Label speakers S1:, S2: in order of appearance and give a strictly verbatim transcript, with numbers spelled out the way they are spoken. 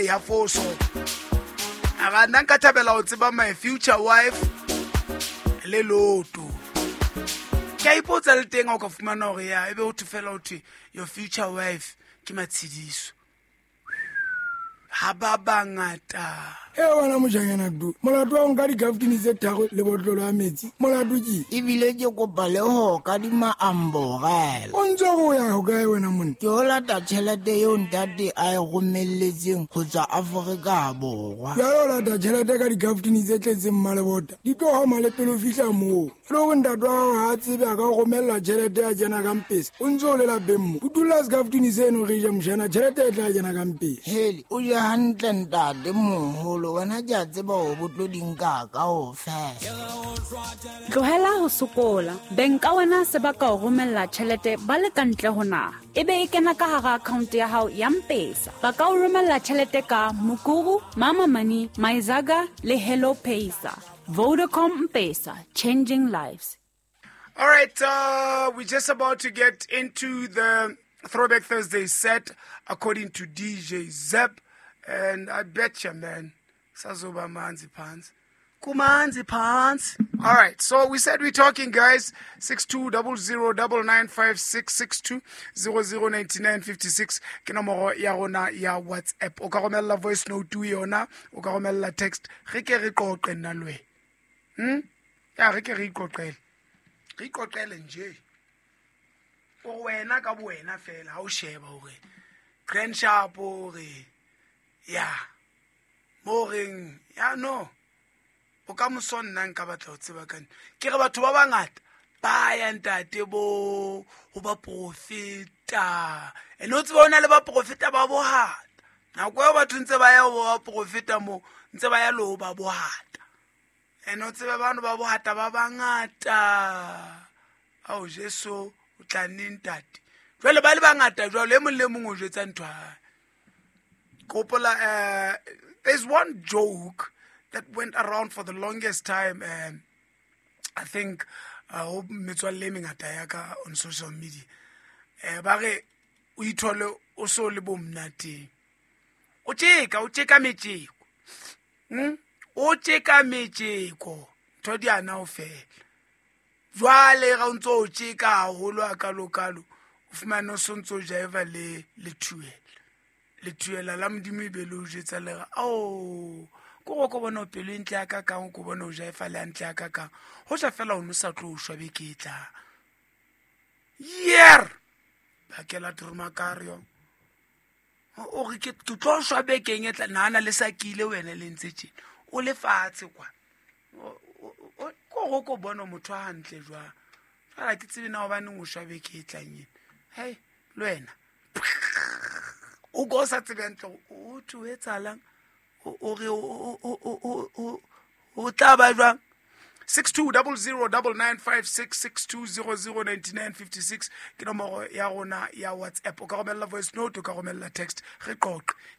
S1: Ya foso a ga nna nka thabela go tseba my future wife le loto. Ke a ipotsa le teng ha o ka fumana hore ya ebe ho thwe fela ho thwe your future wife ke Matshidiso. Ha ba bangata.
S2: E wena mojanyana du, molato wa nka dikaftini tse tharo le botlolo ya metsi, molato ke?
S3: Ebile ke kopa le ho kadima amborela.
S2: O ntse o ya hokae wena monna?
S3: Ke o lata tjhelete eo ntate a e romelletseng ho tswa Afrika Borwa.
S2: Jwale o lata tjhelete ka dikaftini tse tletseng mmalebota, di tlo hama le pele o fihla moo. E le hore ntate wa hao ha a tsebe a ka o romella tjhelete ya kena ka mpesa, o ntse o le lapeng mo. Utulla sekaftini seno re je mojana, tjhelete e tla kena ka mpesa.
S3: Hele, o je hantle ntate moholo, wena ke a tseba hore bo tlo di nka kaofela.
S4: Tlohela ho sokola. Beng ka wena se ba ka o romella tjhelete ba le ka ntle ho naha. Ebe e kena ka hara account ya hao ya M-Pesa. Ba ka o romella tjhelete ka Mukuru, Mama Money, Myzaga le Hello Pesa. Vodacom M-Pesa, changing lives.
S1: All right, uh, we're just about to get into the Throwback Thursday set according to D J Zeb. And I betcha, man, sazoba manzi pants. Kumanzi pants. All right, so we said we're talking, guys. six two double zero double nine five six six two zero zero ninety nine fifty six. Ke nomoro ya rona ya WhatsApp. O ka romella voice note yona, o ka romella text. Re ke re qoqe nna le wena. Hmm? Ya re ke re iqoqele. Re iqoqele nje. O wena ka bo wena fela ha o sheba hore Grand Sharp hore ya mo reng ya no. O ka moso nna nka batla ho tseba ka nna. Ke re batho ba bangata ba ya ntate bo ho ba profeta. Ene o tseba o na le ba profeta ba bohata. Nako eo batho ntse ba ya ho ba profeta mo, ntse ba ya le ho ba bohata. Ene o tseba bano ba bohata ba bangata. Ao Jesu o tla neng ntate. Jwale ba le bangata jwale e mong le mong o jwetsa ntho ya hae. Kopola, uh, there's one joke that went around for the longest time. Um, I think uh, metswalle e mengata ya ka on social media. Eh, ba re o ithole o so le bo monateng. O tjeka, o tjeka metjeko. Hmm? O tjeka metjeko. Ntho di ana o fela. Jwale ga o ntso o tjeka haholo a kalo-kalo, o fumane o so ntso o jaiva le le thuela. Le thuela la Modimo e be le o jwetsa le re, ao, ko go ko bona o pelo e ntle ya ka kang, o ko bona o jaifa le hantle ya ka kang. Ho ja fela o no sa tlo shwa beke e tlang. Yer! Bakela Turmakario. O re ke tlo shwa bekeng e tla, nahana le sakile wena le ntse tjena. O le fatshe kwa. Ko go ko bona motho a hantle jwang. Jwale ha ke tsebe na hobaneng o shwa beke e tlang ena. Hei, le wena. O go sa tsebe hantle, o thwe o etsahalang? O re o o o o tla ba jwang? six two double zero double nine five six six two zero zero ninety nine fifty six ke nomoro ya rona ya WhatsApp. O ka romella voice note, o ka romella text. Re qoqe.